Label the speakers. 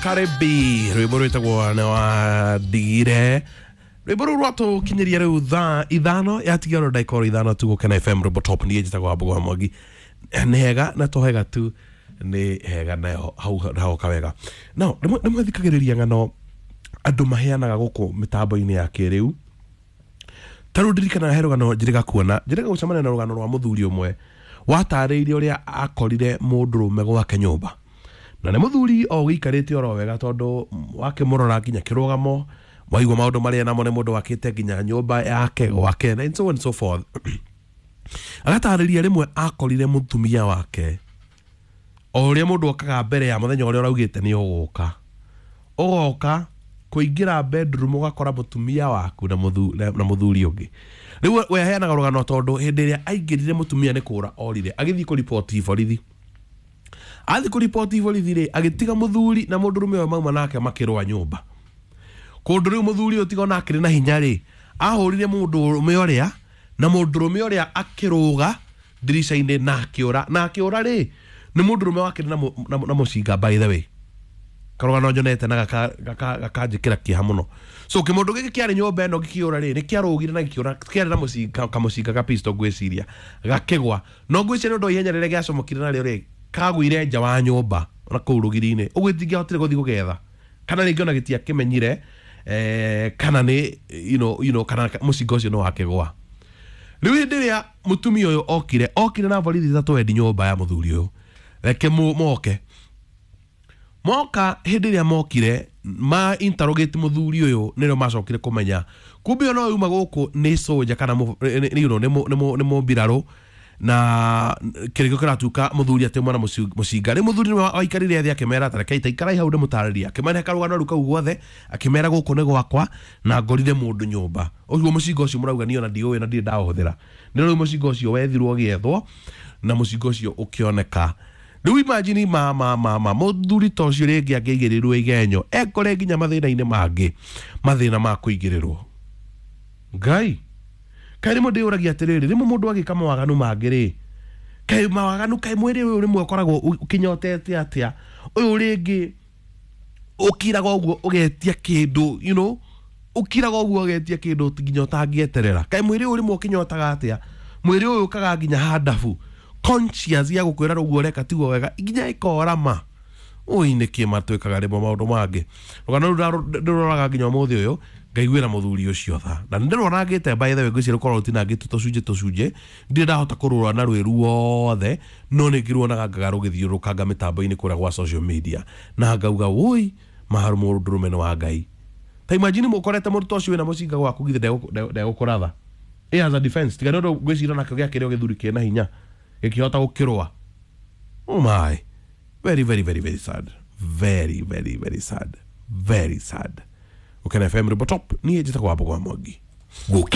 Speaker 1: Karibi rwimbo rwitagwo nĩ wandigire rwimbo rũu rwatũkinyĩria rĩu thaa 5 yatigara ndagĩka oro 5 tu Gũkena FM rwimbo top. Niĩ njĩtagwo Wambũgũ wa Mwangi. Nĩ hega na to hega tu, nĩ hega nayo hau hagoka wega. No rĩmwe thikagĩrĩria ng'ano andũ maheanaga gũkũ mĩtambo-inĩ ya kĩrĩu. Ta rĩu ndirikanaga he rũgano njĩrĩga kuona, njĩrĩga gũcemania na rũgano rwa mũthuri ũmwe watarĩirie ũrĩa akorire mũndũrũme gwake nyũmba, na nĩ mũthuri o ũgĩikarĩte oro wega, tondũ wakĩmũrora nginya kĩrũgamo waigua maũndũ marĩa namo nĩ mũndũ wakĩte nginya nyũmba yake gwake and so on and so forth. Agatarĩria rĩmwe akorire mũtumia wake o ũrĩa mũndũ okaga mbere ya mũthenya ũrĩa ũraugĩte nĩ ũgũka, ũgoka kũingĩra bedroom ũgakora mũtumia waku na mũthuri ũngĩ. Rĩu we aheanaga rũgano tondũ hĩndĩ ĩrĩa aingĩrire mũtumia nĩ kũra orire, agĩthiĩ kũriboti borithi. Athiĩ kũriboti borithi rĩ, agĩtiga mũthuri na mũndũrũme ũyũ mauma nake makĩrũa nyũmba. Kũndũ rĩu mũthuri ũyũ tiga ona akĩrĩ na hinya rĩ, ahũrire mũndũrũme ũrĩa, na mũndũrũme ũrĩa akĩrũga ndirica-inĩ na akĩũra. Na akĩũra rĩ, nĩ mũndũrũme wakĩrĩ na mũcinga, by the way. Karũgano nyonete na gakanjĩkĩra kĩeha mũno. So kĩmũndũ gĩkĩ kĩarĩ nyũmba ĩno gĩkĩũra rĩ, nĩ kĩarũgire na gĩkĩũra, kĩarĩ na mũcinga, kamũcinga ga pistol ngwĩciria, gakĩgwa. No ngwĩciria nĩ ũndũ wa ihenya rĩrĩa gĩacomokire narĩo rĩ, kagũire nja wa nyũmba na kũu rũgiri-inĩ. Ũguo itingĩahotire gũthiĩ gũgetha, kana rĩngĩ ona gĩtiakĩmenyire, kana nĩ kana mũcinga ũcio nĩ wakĩgwa. Rĩu hĩndĩ ĩrĩa mũtumia ũyũ okire na borithi 3 endi nyũmba ya mũthuri ũyũ, reke moke. Moka hĩndĩ ĩrĩa mokire ma interrogate mũthuri ũyũ, nĩrĩo macokire kũmenya kumbe ona ũyũ uma gũkũ nĩ soldier kana nĩ mũmbirarũ, na kĩrĩko kĩratuĩka mũthuri atĩ mwana mũcinga. Rĩu mũthuri nĩwe waikarire thĩ akĩmera ta reke itaikarai hau ndĩmũtarĩrie, akĩmera karũgano rĩu kau guothe, akĩmera gũkũ nĩ gwakwa na ngorire mũndũ nyũmba. Ũguo mũcinga ũcio mũrauga niĩ ona ndiũĩ na ndirĩ ndaũhũthĩra. Nĩ rĩu mũcinga ũcio wethirwo ũgĩethwo na mũcinga ũcio ũkĩoneka. Rĩu imagine ma mũthuri ta ũcio rĩngĩ angĩaigĩrĩrwo igenyo ekore nginya mathĩna-inĩ mangĩ, mathĩna ma kũigĩrĩrwo. Ngai kaĩ rĩmwe ndĩyũragia atĩrĩrĩ, rĩmwe mũndũ agĩka mawaganu mangĩ rĩ, kaĩ mawaganu, kaĩ mwĩrĩ ũyũ rĩmwe ũkoragwo ũkĩnyotete atĩa, ũyũ rĩngĩ ũkiraga ũguo ũgetia kĩndũ, ũkiraga ũguo ũgetia kĩndũ nginya ũtangĩeterera. Kaĩ mwĩrĩ ũyũ rĩmwe ũkĩnyotaga atĩa, mwĩrĩ ũyũ ũkaga nginya handabu conscious ya gũkwĩra ũguo ũreka tiguo wega, nginya ĩkorama. Ũi nĩkĩ matwĩkaga rĩmwe maũndũ mangĩ. Rũgano rũu ndĩroraga nginya ũmũthĩ ũyũ ngaiguĩra mũthuri ũcio tha, na nĩndĩronangĩte by the way, ngwĩciria rũkorwo rũtinangĩtwo tũcunjĩ tũcunjĩ, ndirĩ ndahota kũrũra na rwĩ ruothe, no nĩ ngĩruonaga ngaga rũgĩthiũrũrũkanga mĩtambo-inĩ kũrĩa gwa social media, na ngauga wũi maharu mũndũrũme nĩ wa Ngai. Ta imagine mũkorete mũndũ ta ũcio wĩna mũcinga gwaku, githĩ ndegũkũratha. As a defense, tiga nĩ ũndũ ngwĩciria nakĩo gĩakĩrĩ o gĩthuri kĩna hinya gĩkĩhota gũkĩrũa. Oh my, very very very very sad, very very very sad, very sad. Gũkena FM rwimbo top, niĩ njĩtagwo Wambũgũ wa Mwangi.
Speaker 2: Gũkena.